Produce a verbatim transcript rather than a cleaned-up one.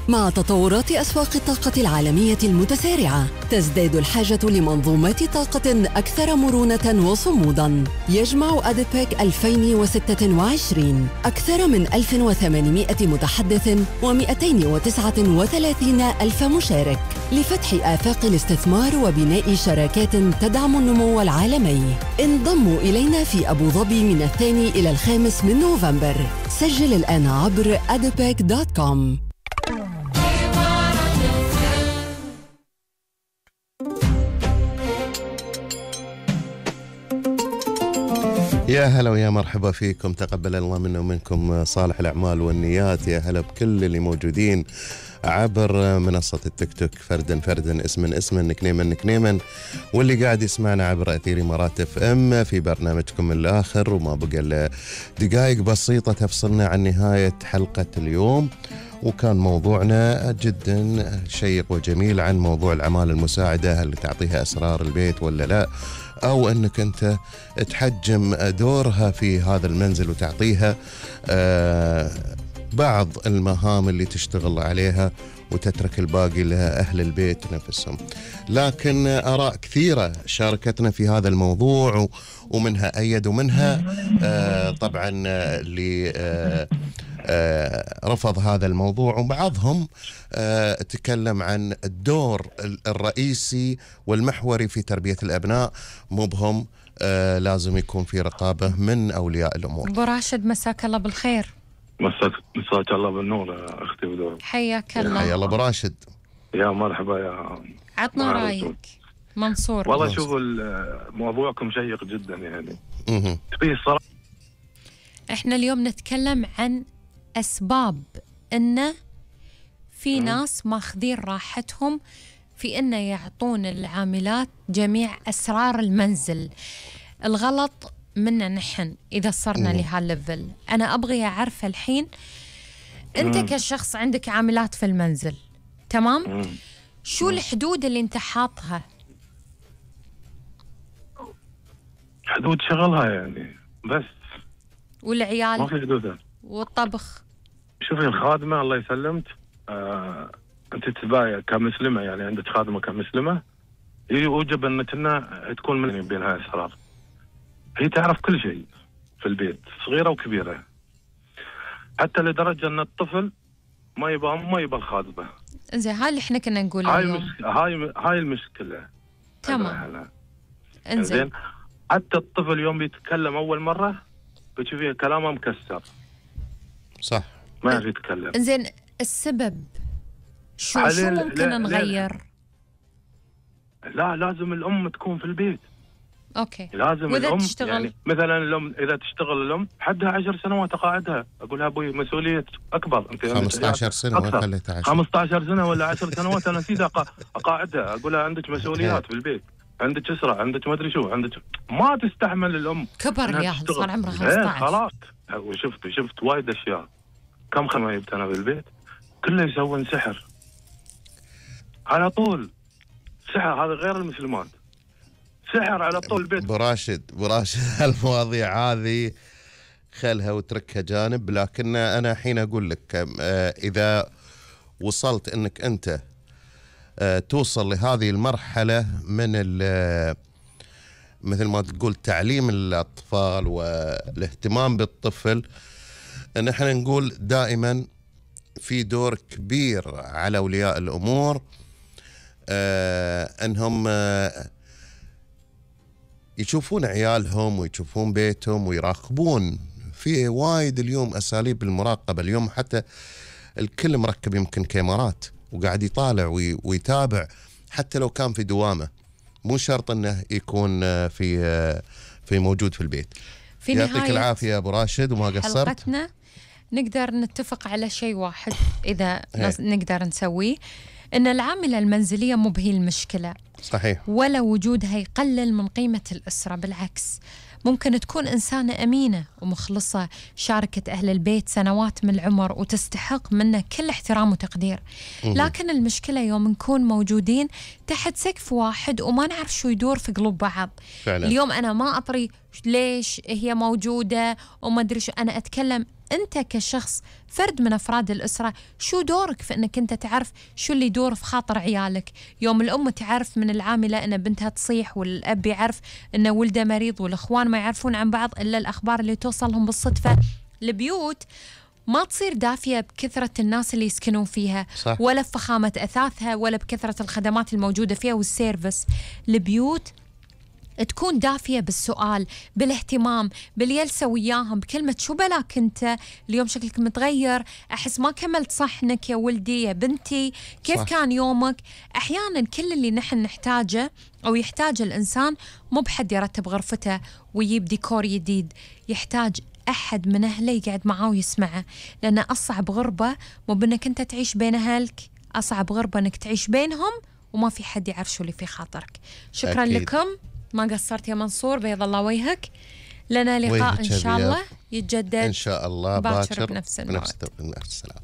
مع تطورات أسواق الطاقة العالمية المتسارعة، تزداد الحاجة لمنظومات طاقة أكثر مرونة وصموداً. يجمع أديبيك ألفين وستة وعشرين أكثر من ألف وثمانمائة متحدث ومئتين وتسعة وثلاثين ألف مشارك لفتح آفاق الاستثمار وبناء شراكات تدعم النمو العالمي. انضموا إلينا في أبو ظبي من الثاني إلى الخامس من نوفمبر. سجل الآن عبر أديبيك دوت كوم. يا هلا ويا مرحبا فيكم، تقبل الله منا ومنكم صالح الأعمال والنيات. يا هلا بكل اللي موجودين عبر منصة التيك توك، فردا فردا، اسما اسما، نكنيما نكنيما، واللي قاعد يسمعنا عبر أثير إمارات اف ام في برنامجكم الآخر. وما بقى إلا دقائق بسيطة تفصلنا عن نهاية حلقة اليوم، وكان موضوعنا جدا شيق وجميل عن موضوع الأعمال المساعدة، هل تعطيها أسرار البيت ولا لا، أو أنك أنت تحجم دورها في هذا المنزل وتعطيها آه بعض المهام اللي تشتغل عليها وتترك الباقي لأهل البيت نفسهم. لكن آراء كثيرة شاركتنا في هذا الموضوع، ومنها أيد ومنها آه طبعا اللي آه آه رفض هذا الموضوع، وبعضهم آه تكلم عن الدور الرئيسي والمحوري في تربية الأبناء، مو بهم آه لازم يكون في رقابة من أولياء الأمور. أبو راشد مساك الله بالخير. مساك مساك الله بالنور يا أختي بدور. حياك الله. حيا الله أبو راشد. يا مرحبا يا عطنا رأيك منصور. والله شوفوا موضوعكم شيق جدا يعني. اها في صراحة احنا اليوم نتكلم عن أسباب إنه في ناس ماخذين راحتهم في إنه يعطون العاملات جميع أسرار المنزل. الغلط منا نحن إذا صرنا لهالليفل. أنا أبغي أعرف الحين، أنت مم. كشخص عندك عاملات في المنزل، تمام؟ مم. شو الحدود اللي أنت حاطها؟ حدود شغلها يعني بس. والعيال؟ ما في حدودها. والطبخ؟ شوفي الخادمة الله يسلمك، آه، أنت تبايع كمسلمة، يعني عندك خادمة كمسلمة يوجب أنك تكون من بينها أسرار. هي تعرف كل شيء في البيت، صغيرة وكبيرة، حتى لدرجة أن الطفل ما يبغى ما يبغى الخادمة. إنزين، هاي اللي إحنا كنا نقوله اليوم. هاي هاي هاي المشكلة. تمام. إنزين، حتى الطفل يوم بيتكلم أول مرة بتشوفيه كلامه مكسر. صح. ما يعرف يتكلم. إنزين، السبب شو شو ممكن لا نغير؟ لا, لا لازم الأم تكون في البيت. اوكي. لازم وإذا الام تشتغل؟ يعني مثلا الام اذا تشتغل الام حدها عشر سنوات اقاعدها، اقول لها ابوي مسؤوليه اكبر، انت خمسة عشر سنه ما خليتها عشر خمسة عشر سنه ولا عشر سنوات انا نسيت اقاعدها، اقول لها عندك مسؤوليات في البيت، عندك اسره، عندك ما ادري شو، عندك ما تستحمل الام. كبر الياهل، صار عمرها خمسة عشر. خلاص. وشفت شفت وايد اشياء. كم خدمه جبت انا بالبيت كله يسوون سحر على طول. سحر هذا غير المسلمات، سحر على طول البيت. براشد براشد المواضيع هذه خلها وتركها جانب، لكن أنا حين أقول لك إذا وصلت أنك أنت توصل لهذه المرحلة من مثل ما تقول تعليم الأطفال والاهتمام بالطفل، نحن نقول دائما في دور كبير على أولياء الأمور أنهم يشوفون عيالهم ويشوفون بيتهم ويراقبون. في وايد اليوم أساليب المراقبة، اليوم حتى الكل مركب يمكن كاميرات وقاعد يطالع ويتابع، حتى لو كان في دوامة، مو شرط أنه يكون في في موجود في البيت. في يعطيك العافية يا أبو راشد وما قصرت. حلقتنا نقدر نتفق على شيء واحد إذا نقدر نسويه، إن العاملة المنزلية مو بهي المشكلة. صحيح. ولا وجودها يقلل من قيمة الأسرة، بالعكس ممكن تكون إنسانة أمينة ومخلصة، شاركت أهل البيت سنوات من العمر وتستحق منا كل احترام وتقدير. لكن المشكلة يوم نكون موجودين تحت سقف واحد وما نعرف شو يدور في قلوب بعض. فعلا. اليوم أنا ما أطري ليش هي موجودة وما أدري شو، أنا أتكلم أنت كشخص فرد من أفراد الأسرة، شو دورك في أنك أنت تعرف شو اللي يدور في خاطر عيالك. يوم الأم تعرف من العاملة أن بنتها تصيح، والأب يعرف أن ولده مريض، والأخوان ما يعرفون عن بعض إلا الأخبار اللي توصلهم بالصدفة. البيوت ما تصير دافية بكثرة الناس اللي يسكنون فيها، صح. ولا بفخامة أثاثها، ولا بكثرة الخدمات الموجودة فيها والسيرفس. البيوت تكون دافية بالسؤال، بالاهتمام، بالجلسة وياهم، بكلمة شو بلاك أنت اليوم شكلك متغير، أحس ما كملت صحنك يا ولدي يا بنتي، كيف صح. كان يومك. أحيانا كل اللي نحن نحتاجه أو يحتاج الإنسان مو بحد يرتب غرفته ويجيب ديكور جديد، يحتاج أحد من أهله يقعد معاه ويسمعه. لأن أصعب غربة مو بأنك أنت تعيش بين أهلك، أصعب غربة أنك تعيش بينهم وما في حد يعرف شو اللي في خاطرك. شكرا أكيد. لكم، ما قصرت يا منصور، بيض الله وجهك. لنا لقاء وجهك إن شاء أبيض. الله يتجدد إن شاء الله باكر باكر بنفس بنفس الموعد. بنفس السلام.